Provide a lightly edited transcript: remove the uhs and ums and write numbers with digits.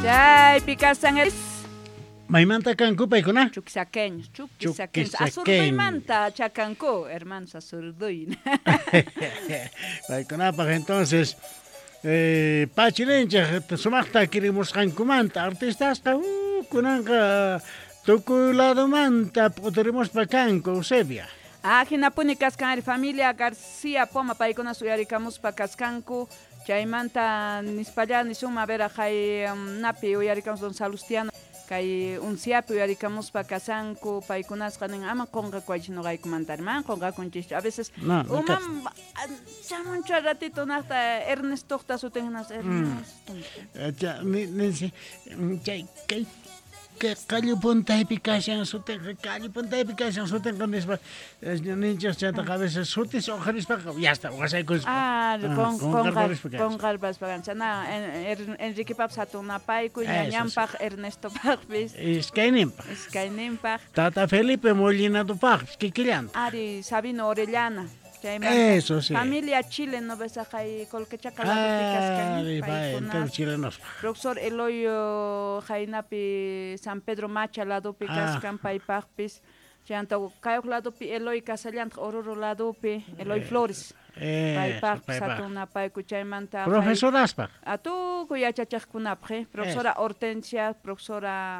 Chaypi kasan Maymanta kanku paykuna? Chuquisaqueños, chuquisaqueños. Azurduymanta chakanku, hermanos Azurduy. Paykunapaj entonces pachilinchej sumaqta kirimusqankumanta artistasqa kunanqa tukuy ladomanta p'uturimuspa kanku, Eusebia. Ah, hinapuni kaskan ari familia García Poma paykuna uyarikamuspa kaskanku. Chaymanta nispalla nisunman, a ver, hay napi uyarikamus don Salustiano kay unciapi uyarikamuspa kasanku paykunasqa nin ama qonqakuwaychis noqaykumanta, man qonqakunchis a veces No, no. Uman chamunchu al ratito naqta Ernestoqta sutin hinas Ernesto. Ninsi, chay kay kay qallu puntaypi kashan sutinqa, qallu puntaypi kashan sutinqa nispa ninchis. Chaytaqa a veces sutis uqharispaqa ya está, wasaykuspa. Ah, qonqarparispa kanchis. Qonqarpaspa kanchis. Na, Enriquepapis hatun napaykuy, Eso sí. ñañanpaq, Ernestopaqpis. Iskayninpaq. Iskayninpaq. Tata Felipe Molinadopaqpis kikillanta. Ari, Sabino Orellana. Chaymanta Eso sí. Familia Chile, no ves kay Colquechaca ladopi kaskan Ari, pay, paykuna. entero chilenospa. Profesor Eloy Jainapi San Pedro Macha ladopi kaskan paypaqpis. Chayanta kayuq ladopi Eloy kasallantaq Oruro ladopi Eloy Flores. Paypaqpis paypaq. hatun napaykuy chaymanta Profesoraspaq. Tukuy yachachaqkunapaq, profesora Hortensia, profesora